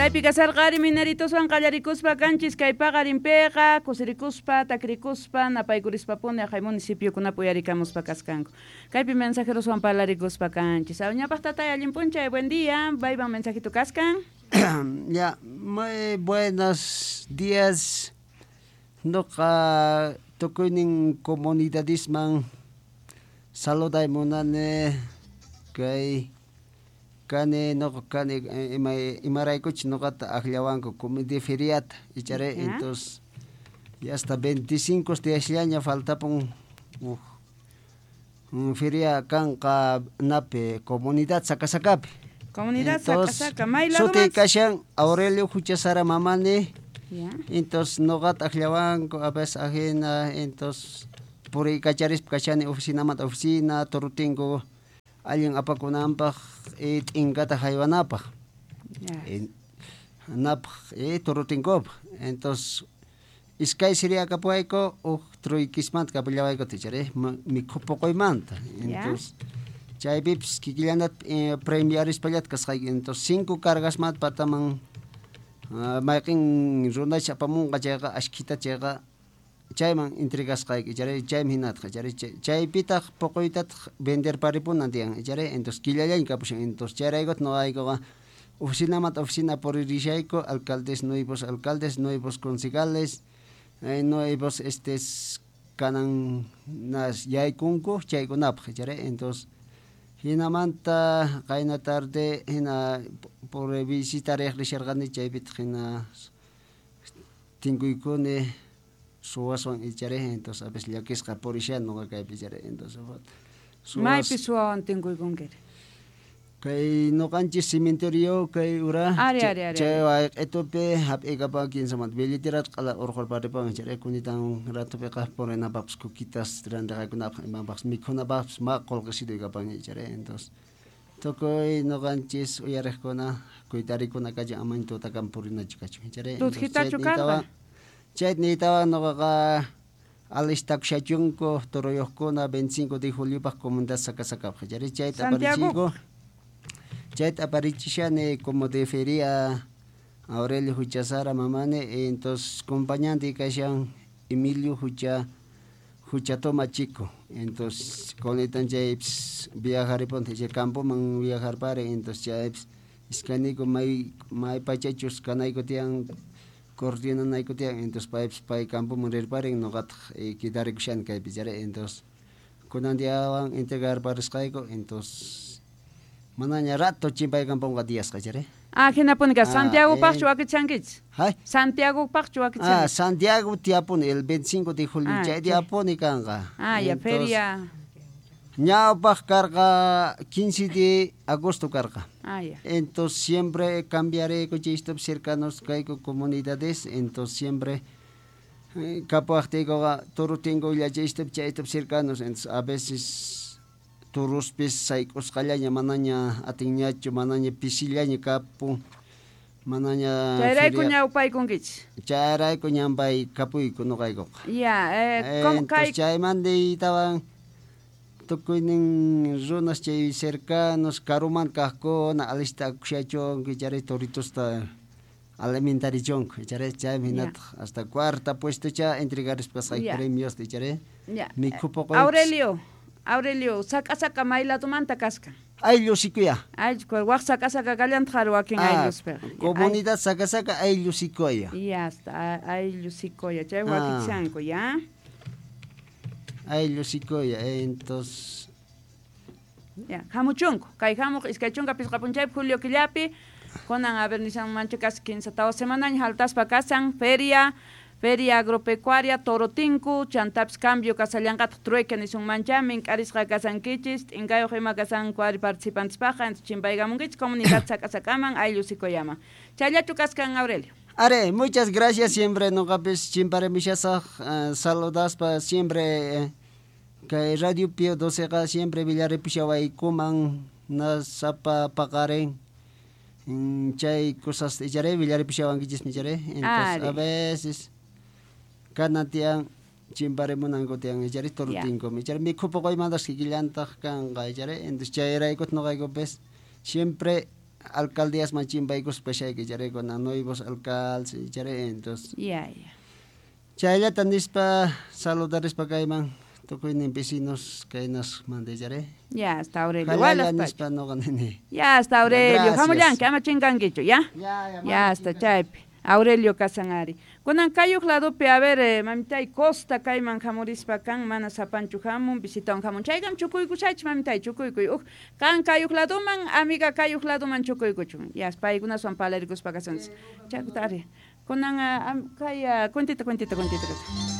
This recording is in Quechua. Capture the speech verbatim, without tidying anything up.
Chaypi kasarqari mineritoswan qallarikuspa kanchis kay paqarinpiqa kusirikuspa takrikuspa napaykurishpapuni aqhay municipiokunapi uyarikamuspa kaskanku. Kaypi mensajeroswan parlarikuspa kanchis. Ñawpaq tatay, allin p'unchay, buen día. Mayman mensajito kaskan. Ya, muy buenos días. Noqa tukuynin comunidadisman saluday munani kay kani noqa kani ima imaraykuchus noqata akllawanku comité feriata ichari. Ya. Entonces ya hasta veinticinco diasllaña faltapun uj un feria kanqa napi comunidad Sacasacappi. Comunidad Entonces, Sacasacá, may suti ladoman. Kashan Aurelio Huchasara Mamani. Ya. Entonces noqata akllawanku a veces ajina, entonces puriykacharispa kashani oficinamanta oficina Torotinku allin apakunanpaq y t'inkata haywanapaq. Ya. Eh, napaq eh, Torotinkupaq. Entonces iskay seria kapuwayku uj truykismanta kapullawayku ichari mikhupuquymanta. Ya. Entonces chaypipis kikillanata eh, premiarispallata kasqayki. Entonces cinco cargasmanta pataman ah, mayqin runacha apamunqa chayqa ashkhita chayqa chayman entregasqayki ichari chaymi hinataq ichari chaypitaq puquytataq venderparipunan tiyan ichari. Entonces killallaña kapushan. Entonces chayraykutaq noqaykuqa oficinamanta oficina puririshayku alcaldes, nuevos alcaldes, nuevos concejales, eh, nuevos estes kanan nas yaykunku chaykunapaq ichari. Entonces hinamanta qayna tarde hina por visitar risharqani chaypitaq hina tinkuykuni suwaswan ichari. Entonces a veces llakisqa purishani noqa kaypi ichari. Entonces suwas Maypi suwawan tinkuykunkiri? Kay noqanchis cementerio kay ura Ari, ari, ari, chay ari. wayq'itupi hap'ikapan kinsamanta billetera q'ala urqurparipan ichari kunitan ratupiqa purinapaqpis kukitas rantiqakunapaq imapaqpis mikhunapaqpis ma qullqisituy kapan ichari. Entonces tukuy noqanchis uyariqkuna kuytarikuna kachin amaña tutakama purinachu kachun ichari. Tutjitachu karqa? Chayta niytawan noqaqa alistakushachunku turuyuqkuna veinticinco de juliopaq comunidad Sacasacapaq ichari chayta Santiago. aparichiyku chayta aparichishani como de feria Aurelio Huchasara Mamani. Entonces acompañante kashan Emilio Hucha Huchatoma Chico. Entonces kunitan chaypis viajaripun chay campoman viajarpari. Entonces chaypis iskayniku may may pachachus kanayku tiyan coordinanayku tiyan. Entonces paypis pay campoman rirparin noqataq eh, quedarikushani kaypi ichari. Entonces kunan diawan entregarparisqayku. Entonces manaña rato chimpaykampunqa diasqa ichari. Ah, hinapuni ka Ah, Santiagopaqchu eh. wakichankichis? Hay. Santiagopaqchu Ah, wakichankichis? Santiago tiyapuni el veinticinco de julio Ah, chay chay. tiyapuni kanqa. Ah, ya Entonces, feria. ñawpaq karqa quince de agosto karqa. Ah, ya. Entonces siempre cambiaré chay cercanos kayku comunidades. Entonces siempre eh, kapuwaqtiykuqa Torotinko illachaystapi chaytapi cercanos. Entonces a veces turuspis sayk'usqallaña manaña atinñachu manaña pisillaña kapun manaña Chayrayku feria- ñawpaykunkichis. chayrayku ñampay kapuyku noqaykuqa. Ya, eh, ¿cómo Entonces kay chaymanta tawan tukuynin runas chay cercanos karumanta kaqkuna alistakushachunku ichari toritosta alimentarichunku ichari chaymi Ya. hinataq hasta cuarta puestocha entregarispa kasqayku Ya. premiosta ichari Ya. mikhupuquypis. Aurelio, Aurelio, Sacasacá may ladomanta kaskan? Ayllu Sikuya. Ayllu, waq Sacasacá kallantaq ari wakin Ah, aylluspiqa. comunidad Sacasacá ayllu Sikuya. Ya está, ayllu Sikuya, chay Ah. wakichanku, ya. Ayllu Sikuya, entonces Ya, hamuchunku, kay hamuq iskay chunka pisqa p'unchaypi julio killapi, kunan a ver nishanmanchu casi quince tawa semanaña haltaspa kasan feria, feria agropecuaria Torotinku, chantapis cambio kasallanqataq trueque nisunmancha, mink'arisqa kasankichis, t'inkayuq ima kasanku ari participantespaqqa, entonces chimpaykamunkichis comunidad Sacasacáman, ayllu Sikuyaman. Chayllachu kaskan, Aurelio. Are, muchas gracias siempre noqapis chimparemishasaq uh, saludaspa siempre eh, kay Radio Pío doceqa siempre villaripishawaykuman nasapa paqarin mm, chay cosas ichari villaripishawankichismi ichari. Entonces Ari. a veces kanan tiyan chimparimunanku tiyan ichari Torotinkum ichari mikhupuquymantas kikillantaq kanqa ichari. Entonces chayraykutaq noqaykupis siempre Alcaldíasman chimpaykuspa kashayki charay kuna nuevos alcaldes charay entonces. Ya, ya. Chayllata nispa saludarispa kayman tukuynin vecinos kaynas mandé charay. Ya, hasta Aurelio. Jalalla nispa noqa nini. Ya, hasta Aurelio. Gracias. Hamullanki, ama chinkankichu, ya? Ya, ya, Ya, hasta chaypi. Aurelio kasan ari. Kunan kayuq ladopi, a ver, eh, mamitay Costa kayman hamurispa kan, mana sapanchu hamun, visitawan hamun. Chaykam chukuykushaychik, mamitay, chukuykuy. Uj, kan kayuq ladoman, amiga kayuq ladoman chukuykuchun. Ya, paykunaswan palarikuspa kasunchik. Chaykuta ari. Kunan ah, am- kay ah, cuentita, cuentita, cuentita.